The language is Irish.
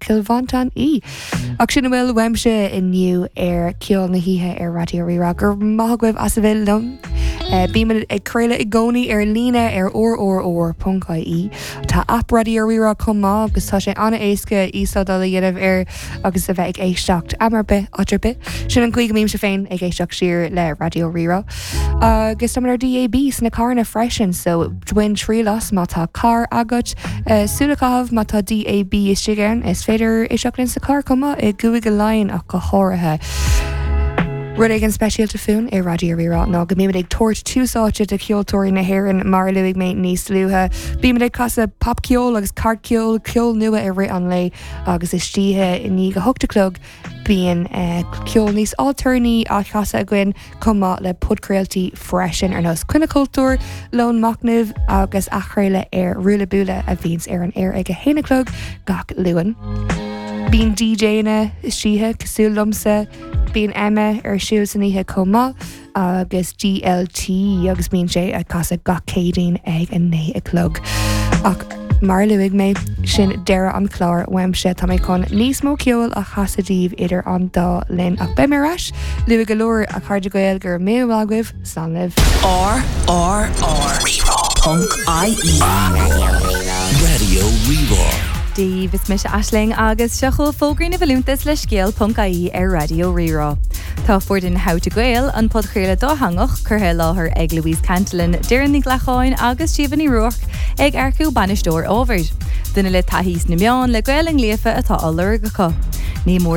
Chill Mhantáin í. Ach sin a bhfuil uaimse inniu ar Ceol na hOíche ar Raidió Rí-Rá. Go raibh maith agaibh as a bheith liom. Bímid ag craoladh i gcónaí ar líne ar rrr.ie. Tá aip Raidió Rí-Rá chomh maith agus tá sé an-éasca íoslódáil a dhéanamh air agus a bheith ag éisteacht am ar bith, áit ar bith. Sin an chaoi go mbímse féin ag éisteacht siar le Raidió Rí-Rá. Agus táimid ar DAB sna carranna freisin, so bain triail as má tá carr agat. Súil a chaitheamh má tá DAB istigh ann, is féidir éisteacht linn sa charr chomh maith, i gCúige Laighean ach go háirithe. Rud éigin speisialta fúinn i Raidió Rí-Rá ná go mbímid ag tabhairt tús áite do cheoltóirí na hÉireann, mar a luaigh mé níos luaithe. Bímid ag casadh popcheol agus cairtcheol, ceol nua i rith an lae agus istoíche i ndiaidh a hocht a chlog bíonn ceol níos ailtéarnaí á chasadh againn chomh maith le podchraoltaí freisin ar nós Coinne Cultúir, Lón Machnaimh agus athchraoladh ar Ruaille Buaille a bhíonns ar an aer ag a haon a chlog gach Luan. Bíonn DJanna istoíche cosúil liomsa, bíonn Emma ar siúl san oíche chomh maith. agus DLT agus bíonn sé ag casadh gach Céadaoin ag 9 a chlog. Ach mar a luaigh mé, sin deireadh an chláir uaimse. Tá mé chun níos mó ceoil a chasadh daoibh idir an dá linn ach beidh mé ar ais luath go leor, a chairde Gael, go raibh míle maith agaibh, slán libh. R R R Rí-Rá ponc IE Raidió Rí-Rá. Dia daoibh, is mise Aisling agus seo chugaibh fógraí na bhfolúntas le Scéal.ie ar Raidió Rí-Rá. Tá foireann How to Gael, an podchraoladh dátheangach, curtha i láthair ag Louise Cantillon, Doireann Ní Ghlacáin agus Síomha Ní Ruairc, ag earcú bainisteoir ábhair. Duine le taithí sna meáin le Gaelainn líofa atá á lorg acu. Ní mór.